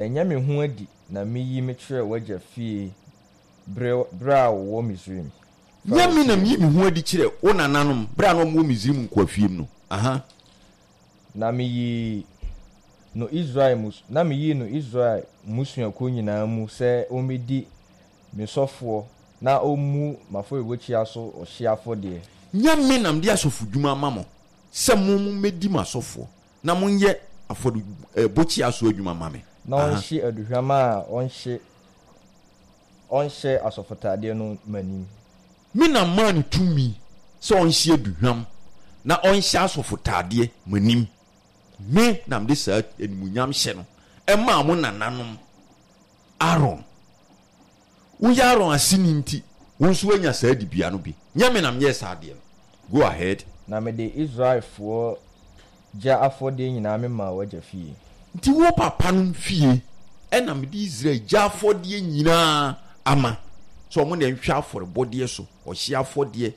Ɛnyɛ me ho adi na miyi mekyerɛɛ w'agya fie bere bere a wɔwɔ Misraim, Nyɛ Farao me na fie miyi no. me ho adi kyerɛ wo nananom bere a na wɔwɔ Misraim nkoafie mu no. Aha. Na miyii no Israel mmus na miyii no Israel mmusuakuo nyinaa mu sɛ ɔmmɛdi me sɔfoɔ na ɔmmu m'afɔrebukyia so ɔhyeɛ afɔdeɛ. Nyɛ me na mede asɔfodwuma ama mo sɛ mo mommɛdi m'asɔfoɔ na monyɛ afɔrebukyia so adwuma mma me. Na Aha. ɔnhye aduhwam a ɔnhye ɔnhyɛ asɔfotadeɛ no m'anim. Me na maa no tumi sɛ ɔnhye aduhwam na ɔnhyɛ asɔfotadeɛ m'anim. Me na mede saa animuonyamhyɛ no maa mo nananom. Aaron. Woyɛ Aaron aseni nti, wo nso woanya saa dibea no bi. Nyɛ me na meyɛɛ saa adeɛ no. Go ahead. Na mede Israelfoɔ gya afɔdeɛ nyinaa memaa w'agya fie. Nti wo papanom fie na mede Israel gya afɔdeɛ nyinaa ama, sɛ wɔn na nhwɛ afɔrebɔdeɛ so, ɔhyeɛ afɔdeɛ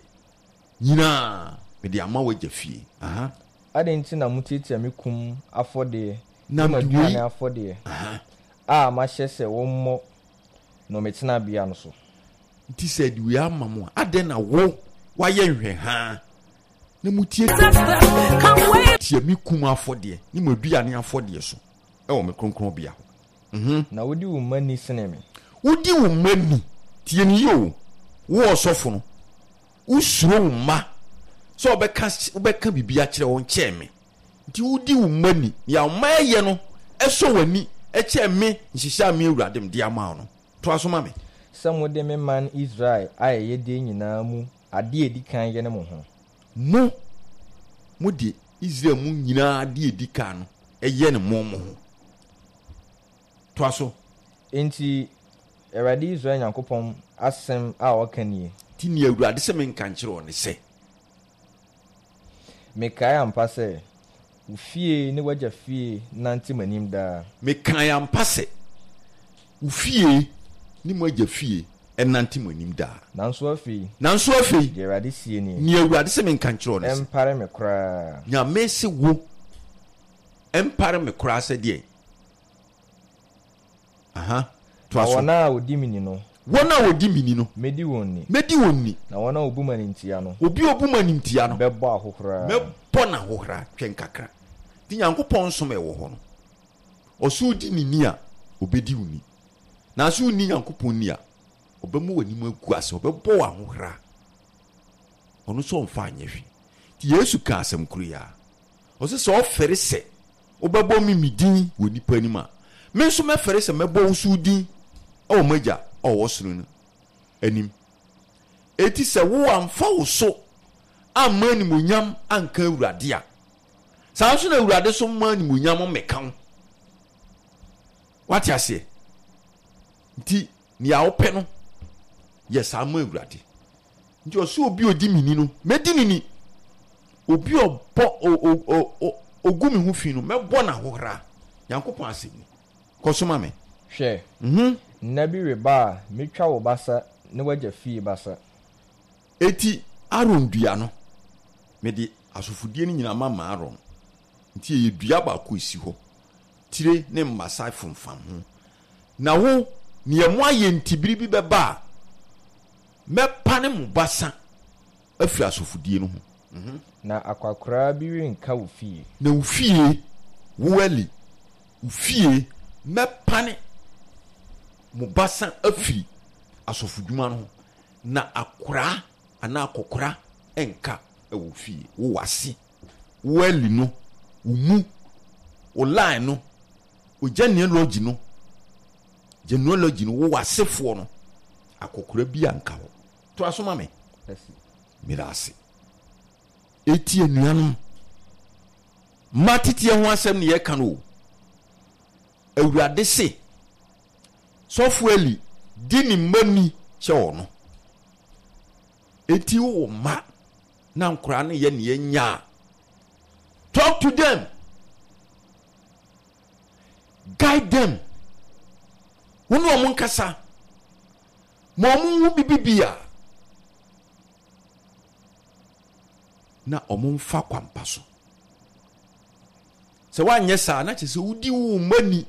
nyinaa mede ama w'agya fie. Aha. Adɛn nti na motiatia me kum afɔdeɛ Na ne mede wei. m'aduane afɔdeɛ Aha. a mahyɛ sɛ wɔmmɔ no me tenabea no so? Nti sɛ ɛde wei ama mo a, adɛn na wo woayɛ nhwɛhaa na mutiatia me kum afɔdeɛ ne m'aduane afɔdeɛ so wɔ me kronkronbea hɔ? Mhm. Na wodi wo mma ni sene me. Wodi wo mma ni. Tie no yie o, wo ɔsɔfo no, wosuro wo mma sɛ wɔbɛka wobɛka biribi akyerɛ wɔn kyɛn me. Nti wodi wo mma ni. Nea wo mma yɛ no sɔ w'ani kyɛn me nhyehyɛe a me Awurade mede ama wo no. Toa so ma me. Sɛ mode me man Israel ayɛyɛdeɛ nyinaa mu adeɛ a ɛdi kan yene mo ho. Mo, mode Israel mu nyinaa adeɛ a ɛdi kan no yɛne mo mo ho. Toa so. Enti Awurade Israel Nyankopɔn asɛm a ɔka nie. Enti nea Awurade se menka nkyerɛ wo ne sɛ. Mekae ampa sɛ, wo fie ne w'agya fie nnante m'anim daa. Mekae ampa sɛ, wo fie ne m'agya fie nnante m'anim daa. Nanso afei. Nanso afei. Deɛ Awurade seɛ nie. Nea Awurade se menka nkyerɛ wo ne sɛ. Ɛmpare me koraa. Nyame se wo, ɛmpare me koraa sɛ deɛn? Aha, toa Na so. wɔn a wɔdi me ni no. Wɔn a wɔdi me ni no. Mɛdi wɔn ni. Mɛdi wɔn ni. Na wɔn a wɔbu me animtia no. Obi a ɔbu me animtia no. Mɛbɔ ahohora. Mɛbɔ no ahohora. Twɛn kakra. Nti Nyankopɔn som a ɛwɔ hɔ no, ɔse wodi ne ni a, ɔbɛdi wo ni. Nanso wonni Nyankopɔn ni a, ɔbɛma w'anim agu ase, ɔbɛbɔ wo ahohora. Ɔno nso ɔmfa nyɛ hwee. Nti Yesu kaa asɛm koro yi ara. Ɔse sɛ ɔfɛre sɛ wobɛbɔ me me din wɔ nnipa anim a, me nso mɛfɛre sɛ mɛbɔ wo nso wo din wɔ m'Agya a ɔwɔ soro no anim. Enti sɛ wo amfa wo so amma animuonyam anka Awurade a, saa nso na Awurade nso mma animuonyam mmɛka wo. Wate aseɛ? Nti nea wopɛ no, yɛ saa ma Awurade. Nti ɔse obi a odi me ni no, mɛdi no ni. Obi a ɔbɔ ogu me ho fi no, mɛbɔ no ahohora. Nyankopɔn asɛm ni. Kɔ so ma me. Hwɛ, nna bi reba a metwa wo basa ne w'agya fie basa. Enti Aaron dua no, mede asɔfodie no nyinaa mama Aaron. Nti ɛyɛ dua baako a ɛsi hɔ, tire ne mmasa fomfam ho. Na wo, nea moayɛ nti bere bi bɛba a, Mɛpane mo basa afiri asɔfodie no ho. Na akwakoraa bi renka wo fie. Na wo fie, wo Eli, wo fie, mɛpane mo basa afiri asɔfodwuma no ho, na akoraa anaa akɔkora renka wɔ wo fie, wo w'ase, wo Eli no, wo mu, wo line no, wo genealogy no. Genealogy no, wo w'asefoɔ no, akɔkora bi anka hɔ. Toa so ma me. Meda ase. Eti anuanom, mma teteɛ ho asɛm ne yɛka no o. Awurade se, Sɔfo Eli di ne mma ni kyɛ ɔno. Eti wowɔ mma na nkoraa no yɛ neɛ nya a, talk to them. Guide them. Wo ne wɔn nkasa. Ma wɔn nhu bibi bi a na wɔn mfa kwampa so. Sɛ woanyɛ saa na kyerɛ sɛ wodi wo mma ni.